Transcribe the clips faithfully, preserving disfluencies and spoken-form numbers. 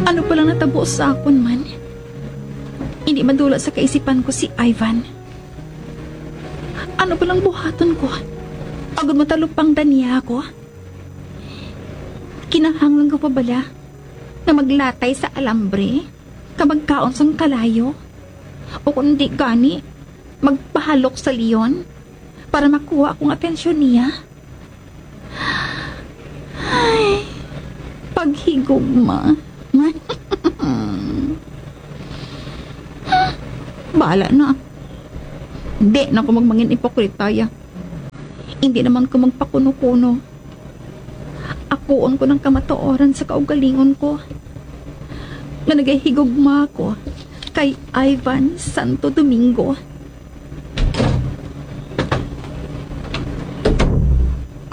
Ano palang natabo sa akon man? Hindi madula sa kaisipan ko si Ivan. Ano palang buhaton ko? Agod matalupangdan niya ako? Kinahanglan ko pa bala nga maglatay sa alambre ka magkaon sang kalayo? O kung di gani, magpahalok sa leon para makuha akong atensyon niya? Ay, paghigugma. Bahala na. Di na ko magmangin ipokrita, ya. Hindi naman ko magpakuno-kuno. Akuon ko ng kamatuoran sa kaugalingon ko nga nagahigugma ako kay Ivan Santo Domingo.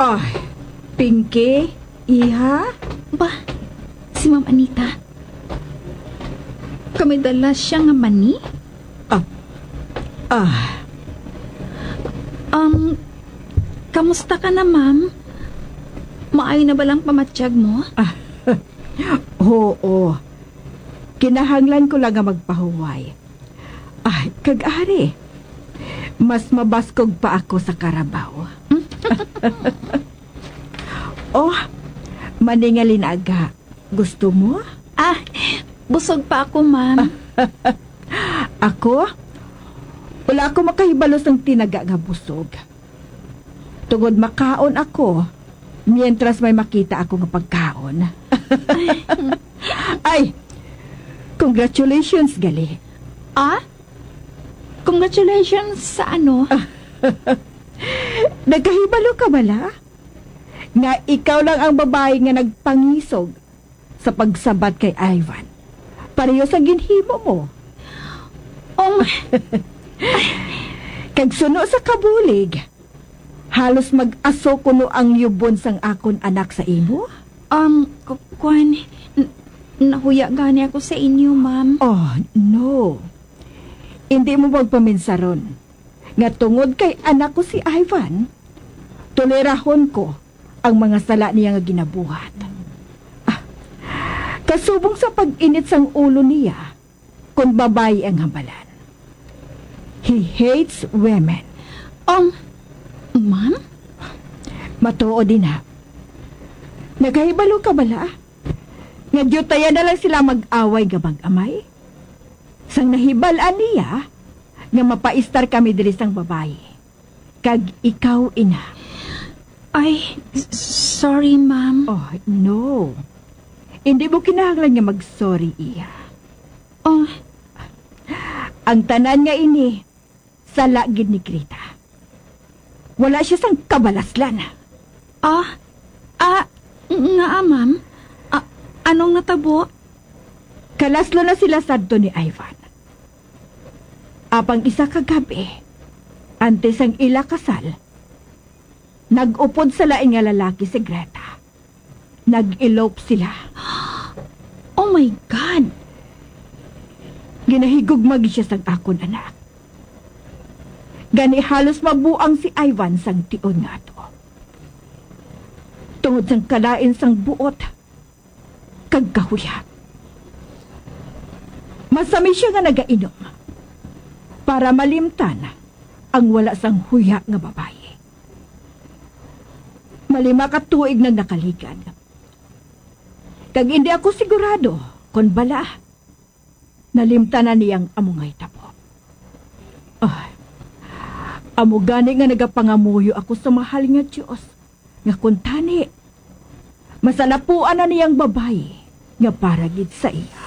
Ah, Pinky, iha? Ba, si Ma'am Anita. Kami dala siya nga mani? Ah, ah. Um, kamusta ka na, ma'am? Maayo na ba lang pamatyag mo? Ah, oo. Kinahanglan ko lang nga magpahuway. Ah, kag ari, mas mabaskog pa ako sa karabaw. Oh, maningali na aga. Gusto mo? Ah, busog pa ako, ma'am. Ako? Wala ako makahibalo sang tinaga nga busog. Tungod makaon ako, mientras may makita ako nga pagkaon. Ay, congratulations, gali. Ah? Congratulations sa ano? Nagkahibalo ka bala nga ikaw lang ang babayi nga nagpangisog sa pagsabat kay Ivan, pareho sa ginhimo mo. Um, kag suno sa kabulig, halos mag-aso kuno ang yubon sang akon anak sa imo. Um, ku-, kwan, n-, nahuya gani ako sa inyo, ma'am. Oh, no. Hindi mo magpaminsaron nga tungod kay anak ko si Ivan, tolerahon ko ang mga sala niya nga ginabuhat. Ah, kasubong sa pag-init sang ulo niya, kon babayi ang hambalan. He hates women. Um, ma'am? Matuod ina. Nagahibalo ka bala nga diutayan na lang sila mag-away nga mag-amay? Sang nahibal-an niya nga mapaistar kami diri sang babayi, kag ikaw ina. Ay, s-, sorry, ma'am. Oh, no. Hindi mo kinahanglan nga mag-sorry, iya. Oh. Ang tanan nga ini, sala gid ni Greta. Wala siya sang kabalaslan. Ah, ah, ngaa, ma'am? Ah, anong natabo? Kalaslo na sila sadto ni Ivan. Apang isa ka gab-i, antes ang ila kasal, nag-upod sa lain nga lalaki si Greta. Nag-elope sila. Oh my God! Ginahigugma gid siya sang akon anak. Gani halos mabuang si Ivan sang tion nga ato. Tungod sang kalain sang buot kag kahuya. Masami siya nga nagainom para malimtan ang wala sang huya nga babayi. Malima ka tuig nang nakaligad. Kag indi ako sigurado kon bala nalimtan na niya ang amo nga hitabo. Ay, amo gani nga nagapangamuyo ako sa mahal nga Dios, nga kuntani masalapuan na niya ang babayi nga para gid sa iya.